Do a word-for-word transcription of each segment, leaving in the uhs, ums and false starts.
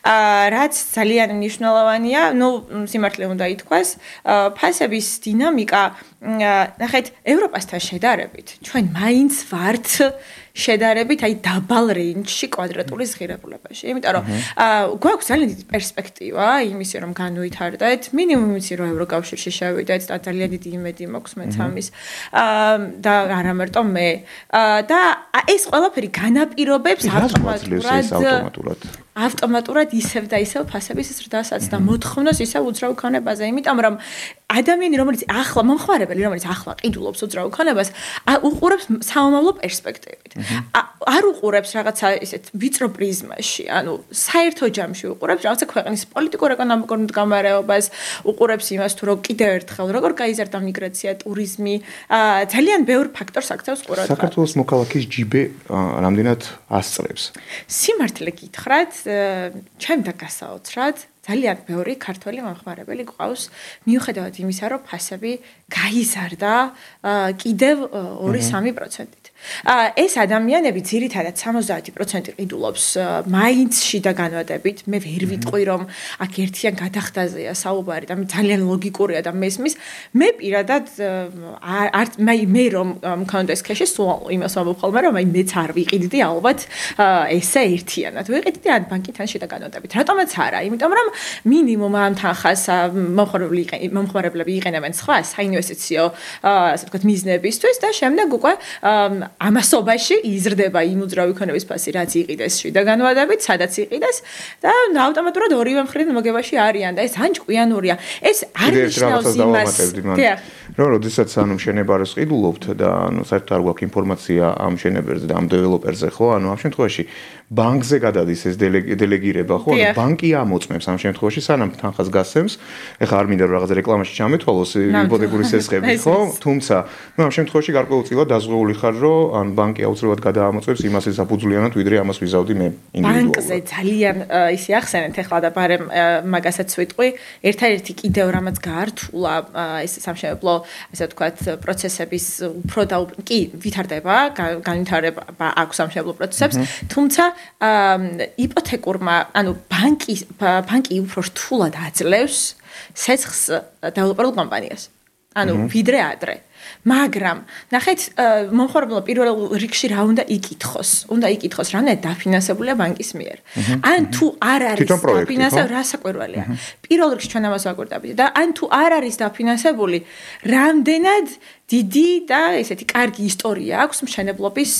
რაც ძალიან მნიშვნელოვანია, ნუ სიმართლე უნდა ითქვას, ფასების დინამიკა, ნახეთ, ევროპასთან შედარებით, ჩვენ მაინც ვართ შედარებით აი დაბალ რეინჯში კვადრატული ზღირებულებაში. იმიტომ რომ გვაქვს ძალიან დიდი პერსპექტივა იმისი რომ განვითარდეთ, მინიმუმ იმისი რომ ევროკავშირში შევიდეთ და ძალიან დიდი იმედი მაქვს მეც ამის. და არა მარტო მე. და ეს ყველაფერი განაპირობებს ავტომატურად ავტომატურად ისევ და ისევ ფასების ზრდასაც და მოთხოვნას ისევ უძრავ ქონებაზე. იმიტომ რომ ადამიანი რომელიც ახლა მომხმარებელი რომელიც ახლა ყიდულობს უძრავ ქონებას უყურებს საომავლო პერსპექტივით. არ უყურებს რაღაცა ისეთ ვიწრო პრიზმაში, ანუ საერთო ჯამში უყურებს რაღაცა ქვეყნის პოლიტიკურ-ეკონომიკურ მდგომარეობას, უყურებს იმას თუ რო კიდევ ერთხელ როგორ გაიზარდა მიგრაცია, ტურიზმი, ძალიან ბევრ ფაქტორს აქცევს ყურადღებას. საქართველოს მოქალაქის ჯიბე რამდენად ასწრებს? სიმართლე გითხრათ, ჩემდა გასაოცრად ძალიან ბევრი ქართველი მომხმარებელი გვყავს, მიუხედავად იმისა, რომ ფასები გაიზარდა კიდევ ორი სამი პროცენტით. ეს ადამიანები ძირითადად სამოცდაათი პროცენტი ყიდულობს მაინც შიდა განვადებით. მე ვერ ვიტყვი რომ აქ ერთიან გადახდაზეა საუბარი და ძალიან ლოგიკურია და მესმის. მე პირადად არ მე რომ მქონდეს ქეში სულ იმას ვამბობ ხოლმე რომ აი მეც არ ვიყიდდი ალბათ ესე ერთიანად. ვიყიდდი ან ბანკიდან შიდა განვადებით. რატომაც არა? იმიტომ რომ მინიმუმ ამ თანხას მომხმარებლები იყენებენ სხვა საინვესტიციო ასე ვთქვათ მიზნებისთვის და შემდეგ უკვე ამასობაში იზრდება იმ უძრავი ქონების ფასი, რაც იყიდეს შიდა განვადებით, სადაც იყიდეს და ავტომატურად ორივე მხრიდან მოგებაში არიან და ეს ან ჭკვიანურია. ეს არ ნიშნავს იმას, რომ როდესაც ანუ მშენებარეს ყიდულობთ და ანუ საერთოდ არ გვაქვს ინფორმაცია ამ მშენებერზე და ამ დეველოპერზე, ხო? ანუ ამ შემთხვევაში ბანკზე გადადის ეს დელეგირება, ხო? ანუ ბანკი ამოწმებს ამ შემთხვევაში სანამ თანხას გასცემს. ეხლა არ მინდა რომ რაღაც რეკლამაში ჩამეთვალოს იპოთეკური სესხები, ხო? თუმცა, ნუ ამ შემთხვევაში გარკვეულწილად დაზღვეული ხარ, რომ ან ბანკი აუცილებლად გადაამოწმებს იმას ესაფუძვლიანად, ვიდრე ამას ვიზავდი მე ინდივიდუალურად. ბანკზე ძალიან ისე ახსენეთ ეხლა და ბარემ მაგასაც ვიტყვი, ერთადერთი კიდევ რამაც გაართულა ეს სამშენებლო, ასე ვთქვათ, პროცესების უფრო და კი ვითარდება, განვითარება აქვს სამშენებლო პროცესებს, თუმცა იპოთეკურმა, ანუ ბანკი ბანკი უფრო რთულად აძლევს სესხს დეველოპერულ კომპანიას. ანუ ვიდრე ადრე. მაგრამ ნახეთ, მომხმარებელმა პირველ რიგში რა უნდა იკითხოს? უნდა იკითხოს, რამდენად დაფინანსებულია ბანკის მიერ. ან თუ არ არის დაფინანსებული, რა საკვირველია. პირველ რიგში ჩვენ ამას ვაკვირდებით და ან თუ არ არის დაფინანსებული, რამდენად დიდი და ესეთი კარგი ისტორია აქვს მშენებლობის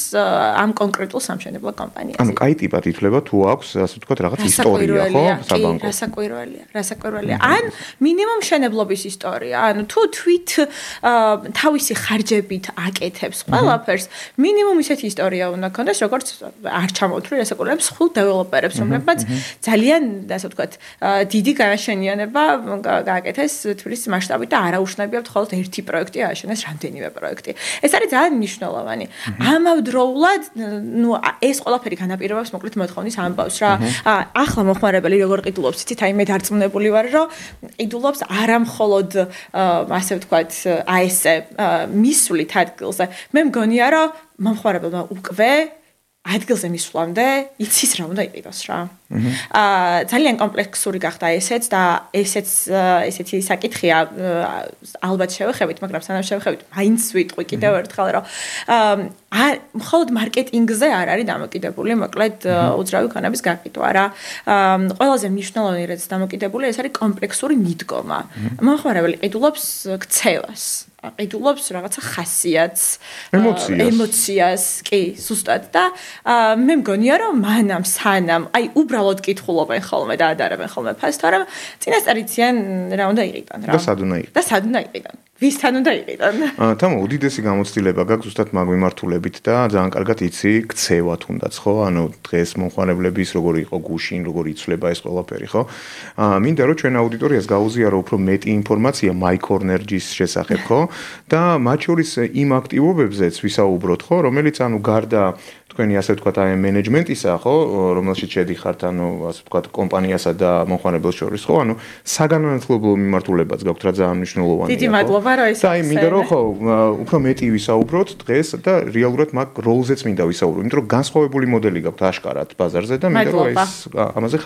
ამ კონკრეტულ სამშენებლო კომპანიაზე. ანუ კაი ტიპად ითვლება თუ აქვს, ასე ვთქვათ, რაღაც ისტორია, ხო, საბანკო. რა საკვირველია, რა საკვირველია. ან მინიმუმ მშენებლობის ისტორია, ანუ თუ თვით თავისი ხარჯებით აკეთებს ყველაფერს, მინიმუმ ისეთი ისტორია უნდა ქონდეს, როგორც არ ჩამოთვლი რასაკვირველებს ხულ დეველოპერებს, რომლებმაც ძალიან, ასე ვთქვათ, დიდი განაშენიანება გააკეთეს თბილისის მასშტაბით და არაუშნებიათ მხოლოდ ერთი პროექტი ააშენეს, რამდენიმე პროექტი. ეს არის ძალიან მნიშვნელოვანი. ამავდროულად, ნუ ეს ყველაფერი განაპირობებს მოკლედ მოთხოვნის ამბავს რა. ახლა მომხმარებელი როგორ ყიდულობს, იცით, აი მე დარწმუნებული ვარ, რომ ყიდულობს არა მხოლოდ ასე ვთქვათ, აი ესე მისვლით ადგილზე. მე მგონია, რომ მომხმარებელმა უკვე ადგილზე მისვლამდე იცის რა უნდა იყიდოს რა. აა ძალიან კომპლექსური გახდა ესეც და ესეც ესეთი საკითხია ალბათ შევეხებით, მაგრამ სანამ შევეხებით, მაინც ვიტყვი კიდევ ერთხელ, რომ აა მხოლოდ მარკეტინგზე არ არის დამოკიდებული, მოკლედ უძრავი ქონების გაყიდვა რა. ყველაზე მნიშვნელოვანი რაც დამოკიდებული ეს არის კომპლექსური მიდგომა. მომხმარებელი ყიდულობს ქცევას. ყიდულობს რაღაცა ხასიათს, ემოციას, ემოციას, კი, ზუსტად და მე მგონია რომ მანამ სანამ აი უბრალოდ კითხულობენ ხოლმე და ადარებენ ხოლმე ფასს, თორემ წინასწარ იციან რა უნდა იყიდონ რა. და სად უნდა იყიდონ? და სად უნდა იყიდონ? ვისთან უნდა იყიდონ? თამო, უდიდესი გამოცდილება გაქვს ზუსტად მაგ მიმართულებით და ძალიან კარგად იცი ქცევა თუნდაც, ხო? ანუ დღეს მომხმარებლების როგორი იყო გუშინ, როგორი იცვლება ეს ყველაფერი, ხო? მინდა რომ ჩვენ აუდიტორიას გაუზიარო უფრო მეტი ინფორმაცია MyCornerGis შესახებ, ხო? და მათ შორის იმ აქტივობებზეც ვისაუბროთ, ხო, რომელიც ანუ გარდა თქვენი ასე ვთქვათ აი მენეჯმენტისა, ხო, რომელშიც შედიხართ, ანუ ასე ვთქვათ კომპანიასა და მომხმარებელს შორის, ხო, ანუ საგანმანათლებლო მიმართულებაც გაქვთ რა ძალიან მნიშვნელოვანია. დიდი მადლობა რა ის. და აი მინდა რომ ხო, უფრო მეტი ვისაუბროთ დღეს და რეალურად მაგ როლზეც მინდა ვისაუბრო, იმიტომ რომ განსხვავებული მოდელი გაქვთ აშკარად ბაზარზე და მინდა რომ ეს ამაზე